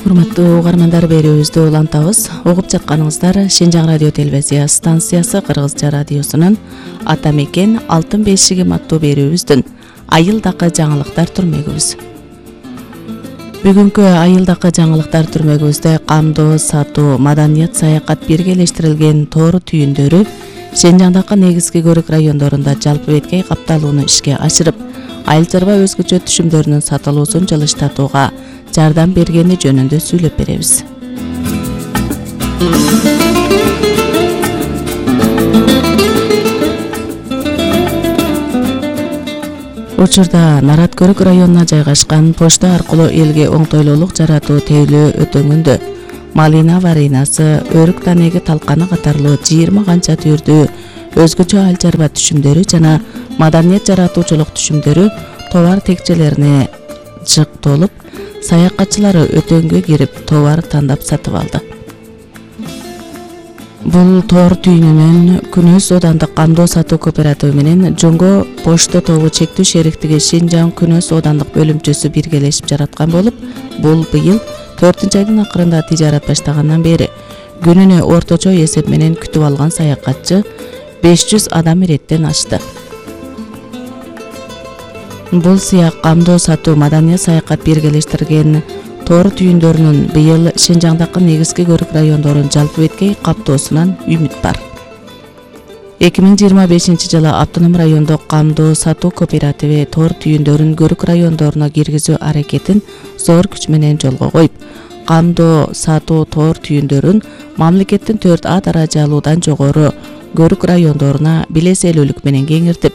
Урматтуу угармандар, берүүбүздү улантабыз. Угуп жатканыңыздар Шинжаң радио телевизия станциясы Кыргызча радиосунун Ата мекен алтын бешигим аттуу берүүбүздүн айылдакы жаңылыктар түрмөгүбүз. Бүгүнкү айылдакы жаңылыктар түрмөгүбүздө камдоо, сатуу, маданият, саякат биргелештирилген тоор түйүндөрү Шинжаңдагы негизги көрүк райондорунда жалпы беткей капталууну ишке ашырып, айыл чарба өзгөчө түшүмдөрүнүн сатылуусун жылыштатууга жардам бергени жөнүндө сүйлөп беребиз. Учурда Нарат көрүк районуна жайгашкан почта аркылуу элге оңтойлуулук жаратуу тейлөө өтөңүндө малина варинасы, өрүк танеги талканы катарлуу 20 канча түрдүү өзгөчө айыл чарба түшүмдөрү жана маданият жаратуучулук түшүмдөрү товар текчелерине жыктолуп, саякатчылары өтөнгө кирип товар тандап сатып алды. Бул тоор түйүнүнөн Күнөс Оодандык камдоо сатуу кооперативи менен Жоңго почта тобу чектүү шериктиги Шинжаң Күнөс Оодандык бөлүмчөсү биргелешип жараткан болуп, бул быйыл 4-айдын акырында тижарат баштагандан бери күнүнө орточо эсеп менен күтүп алган саякатчы 500 адам иреттен ашты. Бул сыяк камдоо сатуу, маданият, саякат биргелештирген тоор түйүндөрүнүн быйыл Шинжаңдагы негизги көрүк райондорун жалпы беткей каптоосунан үмүт бар. 2025 жылы автоном райондук камдоо сатуу кооперативи тоор түйүндөрүн көрүк райондоруна киргизүү аракетин зор күч менен жолго коюп, камдоо сатуу тоор түйүндөрүн мамлекеттин 4А даражалуудан жогору көрүк райондоруна билеселүүлүк менен кеңиртип,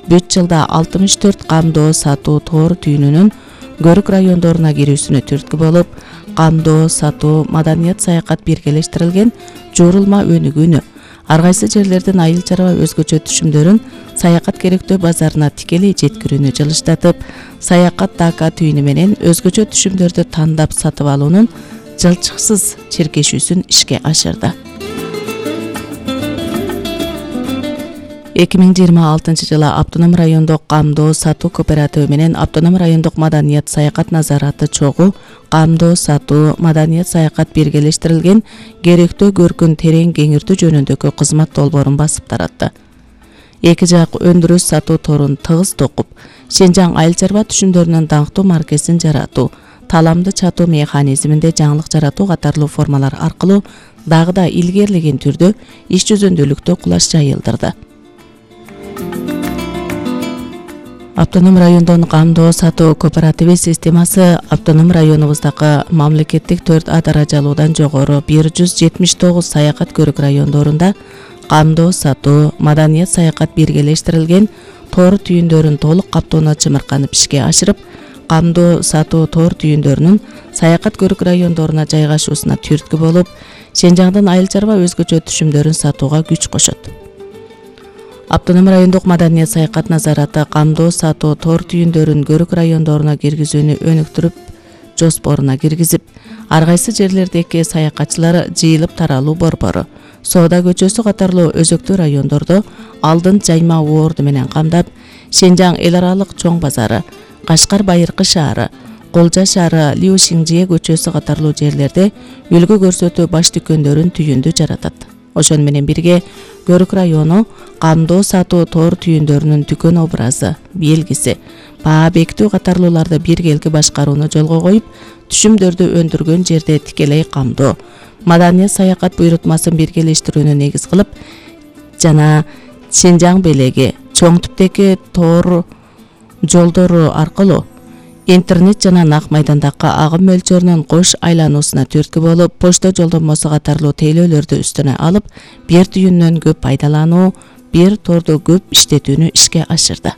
3 жылда 64 камдоо сатуу тоор түйүнүнүн көрүк райондоруна кирүүсүнө түрткү болуп, камдоо сатуу, маданият, саякат биргелештирилген жуурулма өнүгүүнү, ар кайсы жерлердин айыл чарба өзгөчө түшүмдөрүн саякат керектөө базарына тикелей жеткирүүнү жылыштатып, саякат дака түйүнү менен өзгөчө түшүмдөрдү тандап сатып алуунун жылчыксыз чиркешүүсүн ишке ашырды. 2026 жылы автоном райондук камдоо сатуу кооперативи менен автоном райондук маданият, саякат назараты чогуу камдоо сатуу, маданият, саякат биргелештирилген керектөө көркүн терең кеңиртүү жөнүндөгү кызмат долбоорун басып таратты. Эки жак өндүрүш сатуу торун тыгыз токуп, Шинжаң айыл чарба түшүмдөрүнүн даңктуу маркесин жаратуу, таламды чатуу механизминде жаңылык жаратуу катарлуу формалар аркылуу дагы да илгерилеген түрдө иш жүзүндөлүктө кулаш жайылдырды. Автоном райондон камдоо сатуу кооперативи системасы автоном районубуздагы мамлекеттик 4А даражалуудан жогору 179 саякат көрүк райондорунда камдоо сатуу, маданият, саякат биргелештирилген тоор түйүндөрүн толук каптоону чымырканып ишке ашырып, камдоо сатуу тоор түйүндөрүнүн саякат көрүк райондоруна жайгашуусуна түрткү болуп, Шинжаңдын айыл чарба өзгөчө түшүмдөрүн сатууга күч кошот. Автоном райондук маданият, саякат назараты камдоо сатуу тоор түйүндөрүн көрүк райондоруна киргизүүнү өнүктүрүп жоспоруна киргизип, ар кайсы жерлердеги саякатчылар жыйылып таралуу борбору, Соода көчөсү катарлуу өзөктүү райондордо алдын жайма уорду менен камдап, Шинжаң эл аралык чоң базары, Кашкар Байыркы шаары, Колжа шаары, Лиу Шиңжие көчөсү катарлуу жерлерде үлгү көрсөтүү баш дүкөндөрүн түйүндү жаратат. Ошону менен бирге көрүк району камдоо сатуу тоор түйүндөрүнүн дүкөн образы, белгиси, баа бекитүү катарлууларды биргелги башкарууну жолго коюп, түшүмдөрдү өндүргөн жерде тикелей камдоо, маданият, саякат буйрутмасын биргелештирүүнү негиз кылып жана Шинжаң белеги, чоң түптеги тоор жолдору аркылуу интернет жана нак майдандагы агым мөлчөрүнүн кош айлануусуна түрткү болуп, почта жолдомосу катарлуу тейлөөлөрдү үстүнө алып, бир түйүндөн көп пайдалануу, бир торду көп иштетүүнү ишке ашырды.